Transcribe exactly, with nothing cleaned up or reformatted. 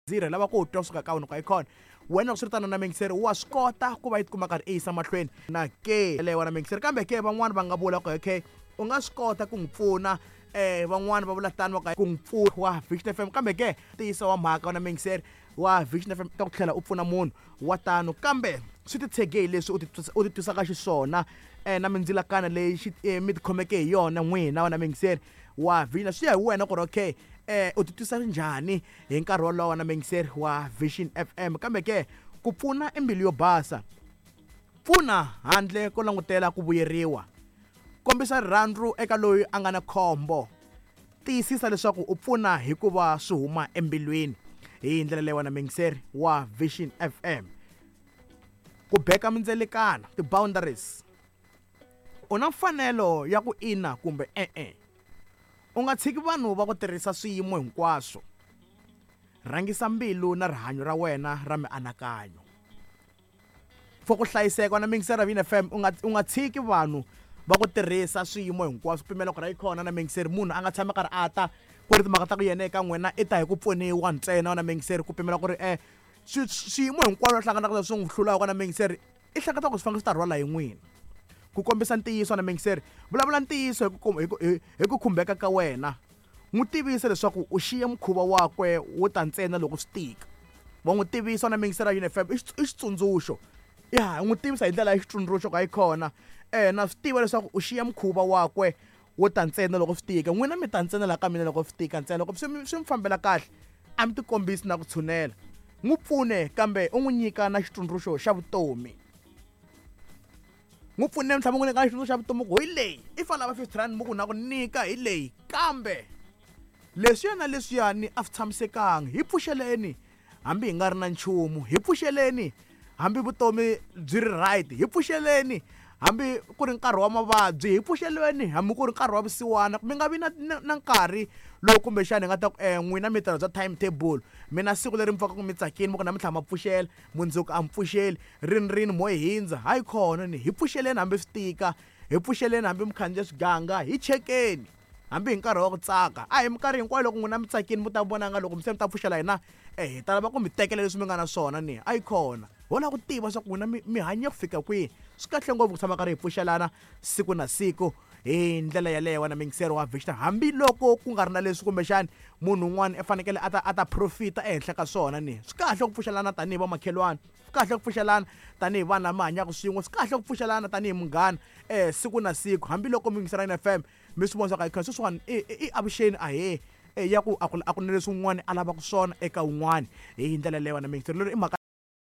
Zero lava ku twa kusuka ka wena ka ikhona wena loko swi ri tano na mingiseri wa swi kota ku va yi tikuma karhi i yisa mahlweni na ke leyo wena mingiseri. Kambe ke van'wani va nga vula ku okay, u nga swi kota ku n'wi pfuna, eh van'wani va vula tano va ku n'wi pfuna wa Vision F M. Kambe ke ntiyiso wa mhaka wena mingiseri wa Vision F M ta ku tlhela u pfuna munhu wa tano, kambe swi titshege hi leswi u ti u ti twisaka xiswona eh na mindzilakana leyi xi mi tikhomeke hi yona n'wina wena mingiseri wa Vision. Swi ya hi wena ku ri okay, eh u titwisa njhani hi nkarhi wolowo na mingiseri wa Vision F M. Kambe ke ku pfuna i mbilu yo basa, pfuna handle ko langutela ku vuyeriwa, kombisa rirhandzu eka loyi a nga na khombo, tiyisisa leswaku u pfuna hikuva swi huma embilwini. Hi ndlela leyi wena mingiseri wa Vision F M. Ku beka mindzelekana, ti-boundaries, u na mfanelo ya ku ina kumbe e-e. U nga tshiki vanhu va ku tirhisa swiyimo hinkwaswo. Rhangisa mbilu na rihanyo ra wena ra mianakanyo. For ku hlayiseka na mingiseri ya Vision F M, u nga u nga tshiki vanhu va ku tirhisa swiyimo hinkwaswo. Pimela ku ri kona na mingiseri, munhu a nga tshami karhi a ta ku ri timhaka ta ku yena eka n'wina i ta hi ku pfuniwa ntsena na mingiseri. Ku pimela ku ri eh swiyimo hinkwaswo hlanganaka na swi n'wi hlulaka na mingiseri, i hleketa ku swi fanele swi ta rhwala hi n'wina. Ku kombisa ntiyiso na mingiseri, vulavula ntiyiso hi ku hi hi ku khumbeka ka wena. N'wi tivisa leswaku u xiye mukhuva wakwe wo ta ntsena loko swi tika. Wa n'wi tivisa na mingiseri ya Vision F M i xitsundzuxo. Ya n'wi tivisa hi ndlela ya xitsundzuxo ka yi kona. Eh na swi tiva leswaku u xiya mukhuva wakwe wo ta ntsena loko swi tika. N'wina mi ta ntsena la ka mina loko swi tika ntsena, loko swi swi mi fambela kahle a mi tikombisi na ku tshunela. N'wi pfune kambe u n'wi nyika na xitsundzuxo xa vutomi. N'wi pfune mhlawumbe n'wi nyika xitsundzuxo xa vutomi ku hi leyi i fanele lava fifty rand mi ku na ku nyika hi leyi, kambe leswiya na leswiyani a swi tshamisekanga. Hi pfuxeleni hambi hi nga ri na nchumu, hi pfuxeleni hambi vutomi byi ri right, hi pfuxeleni hambi ku ri nkarhi wa mavabyi, hi pfuxeleni hambi ku ri nkarhi wa vusiwana. Mi nga vi na na nkarhi lowu kumbexana hi nga ta ku eh n'wina mi tirha bya timetable, mina siku leri mi pfukaka mi tsakini mi ku namuntlha ma pfuxela, mundzuku a mi pfuxeli, rini rini mo hindza. Hayi khona ni hi pfuxeleni hambi swi tika, hi pfuxeleni hambi mi khandziya swiganga, hi chekeni hambi hi nkarhi wa ku tsaka. A hi minkarhi hinkwayo loko n'wina mi tsakini mi ta vona nga loko se mi ta pfuxela hina eh hi ta lava ku mi tekela leswi mi nga na swona ni a yi khona. Ho lava ku tiva swa ku n'wina mi mi hanye ku fika kwihi. Swi kahle ngopfu ku tshama karhi hi pfuxelana siku na siku hi ndlela yeleyo wena mingiseri wa Vision, hambiloko ku nga ri na leswi kumbexani munhu un'wana i fanekele a ta a ta profita ehenhla ka swona ni. Swi kahle ku pfuxelana tanihi vamakhelwani, swi kahle ku pfuxelana tanihi vanhu lava hanyaka swin'we, swi kahle ku pfuxelana tanihi munghana eh siku na siku. Hambiloko mingiseri ya F M mi swi vona swa ku sweswiwani i i avuxeni ahee ya ku a ku a ku na leswi un'wana a lavaka swona eka un'wana hi ndlela leyo wena mingiseri. Lero i mhaka